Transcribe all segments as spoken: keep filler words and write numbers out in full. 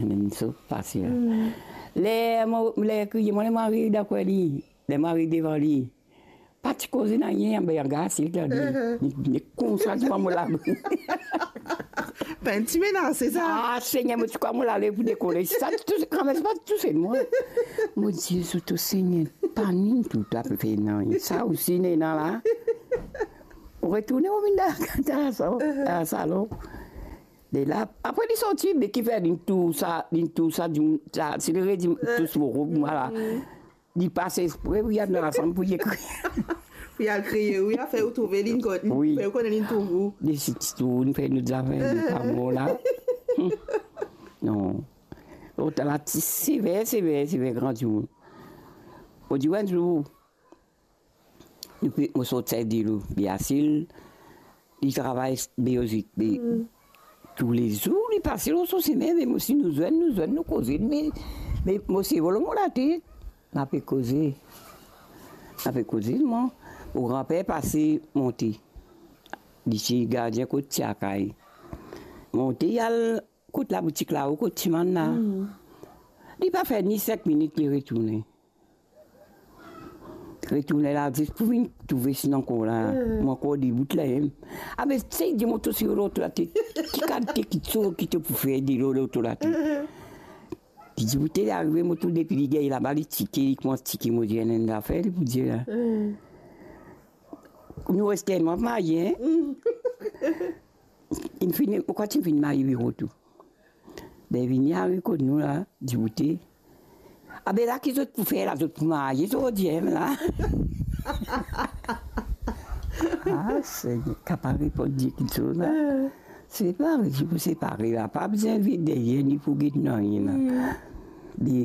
Enn so fasil. Hmm. Ler mo, ler kriye, mo, ler mo ariv dakor li, ler mo ariv devan li, pa ti koze nanye, anba, anba, si li, li, li koumsa, ti pran mo labri. Pa enn ti menase sa. Ah, Segner, mo ti krwar mo lale pou dekole. Sa ti touse, kanmem, sa pa ti touse mwa. Mo dir, zot, o Segner, pa ni tou, ta pe fer nanye. Sa osi, nena la. Ou retourne, ou vinn dan, dan sa, dan salon. De la, apre li sorti, be ki fer, li tous sa, li tous sa, di, sa, si li redi tous mo rob, mwa la. Li pas espre pou li al dan lasanm pou li kriye. Pou li al kriye, wi, afer ou trouve li, wi, fer ou kone li trouv ou. Li si ti tourn, fer nou zafer, li pa bon la. Non. Lot la ti sever, sever, sever, gran dimoun. Ou dir, enn zour, nou pe, mo sort Sent-Delo, Beasil, li travay Beozik, be, toulezour li pase lor so sime, me mo, si nou zwenn, nou zwenn, nou koze, me, me mo sevo lor mo latet, nou pe koze, nou pe koze, mwa, mo granper pase monte, li ti gardien kot ti lakaz, monte, li al kot laboutik lao, kot ti mann la. Li pa fer ni sink minit, li retourne. Retourne la, zis pou vinn trouve si nou ankor la. Mo ankor debout la, em. Abe, sey dir mwa, to si lor to latet, ki kalite kitsoz ki to pou fer delo lor to latet. Li dir, boute, li arive, mo trouv depi li gagn laba, li tike, li koumans tike, mo dir, enn zafer, li pou dir la. Nou reste enn mwa marye, en? Inn fini, ou krwar ti finn marye biro tou. Be vini ariv kot nou la, dir, boute. Abe la ki zot pou fer la, zot pou marye, zot dir la. Ah, Segner, kapav reponn dir kitsoz la. Separe, si pou separe la, pa bizin vinn deryer, ni pou get nanye la. Me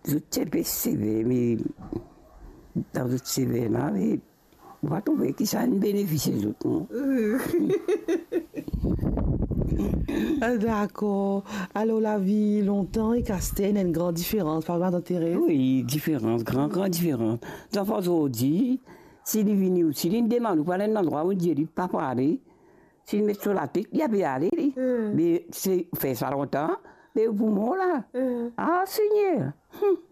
zot ti pe sever, me dan zot sever la, me Ou pa trouve ki sa inn benefis zot, non? Ah, dakor. Alor, lavi lontan ek aster, ena enn gran diferans, pa vre, matant Terez? Wi, diferans, gran, gran diferans. Zanfan zordi, si li vini ou, si li demann ou pou al enn landrwa, ou dir li pa pou ale, si li met so latet, li ape ale, li. Hmm. Me se, fer sa lontan, me ou pou mor la. Hmm. Ah, Segner. Hmm.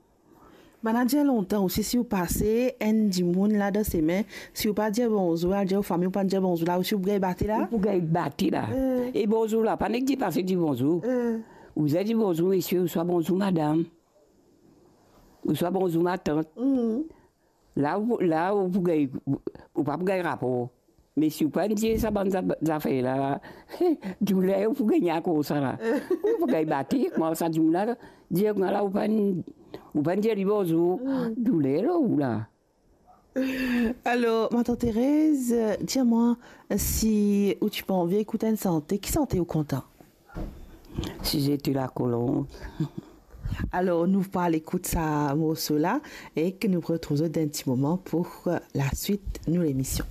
Bann-la dir lontan osi, si ou pase enn dimoun la dan semin, si ou pa dir bonzour, al dir ou fami, ou pa dir bonzour la, osi ou pou gagn bate la? Ou pou gagn bate la. Eh. E bonzour la, pa nek dir pase dir bonzour. Eh. Ou bizin dir bonzour, mesie, ouswa bonzour, madam. Ouswa bonzour, matant. Mhm. La, ou, la, ou pou gagn, ou pa pou gagn rapor. Me si ou pa dir sa bann za-, zafer la, douler ou pou gagn akoz sa la. Ou pou gagn bate, kouma sa dimoun la, dir kouma la, ou pa, ou pa dir li bonzour, douler lor ou la. Alor, matant Terez, dir mwa si ou ti pe anvi ekout enn sante, ki sante ou kontan? Si zete lakolonb. Alor, nou pou al ekout sa morso la e ke nou retrouv zot dan enn ti moman pou, euh, laswit nou lemision.